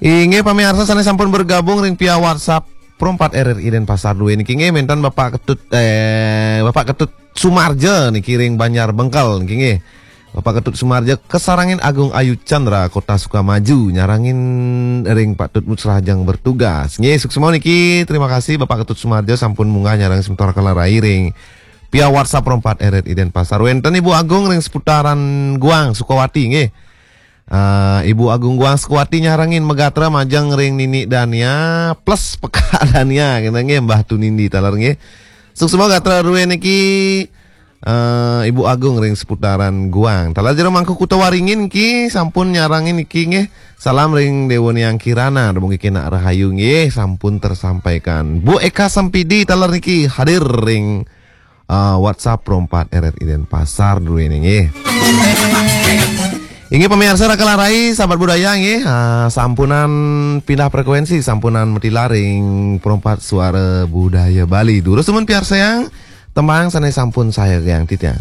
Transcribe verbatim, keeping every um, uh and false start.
Inggih pamiarsa sané sampun bergabung ring via WhatsApp Pro empat R R I Denpasar dua niki nggih, wénten Bapak Ketut, eh, Bapak Ketut Sumarja niki ring Banjar Bengkel niki nggih. Bapak Ketut Sumarja kasarengin Agung Ayu Chandra Kota Sukamaju nyarengin ring Pak Tutmut Serajang bertugas. Nggih, suksma niki, terima kasih Bapak Ketut Sumarja sampun munggah nyarengin semeton Kala Rai ring via WhatsApp Pro empat R R I Denpasar. Wénten Ibu Agung ring seputaran Guang Sukawati nggih. Eh, Ibu Agung Guang Sukawati nyarengin magatra majeng ring Nini Dania plus Peka Dania kena nggih, Mbah Tunindi taler nggih. Suksma gatra ruwé niki, eh, Ibu Agung ring seputaran Guang. Taler Jero Mangku Kuta Waringin ki sampun nyarengin niki nggih. Salam ring Dewa Niang Kirana, dumugi kenak rahayu nggih, sampun tersampaikan. Bu Eka Sempidi taler niki hadir ring eh, WhatsApp Pro empat R R I Denpasar dulu ini nggih. Inggih pamiarsa Raka Larai, sahabat budaya nggih, eh, sampunan pindah frekuensi, sampunan matilar ring Pro empat Suara Budaya Bali. Durus dumun piarsayang tembang sané sampun sayagiang titiang.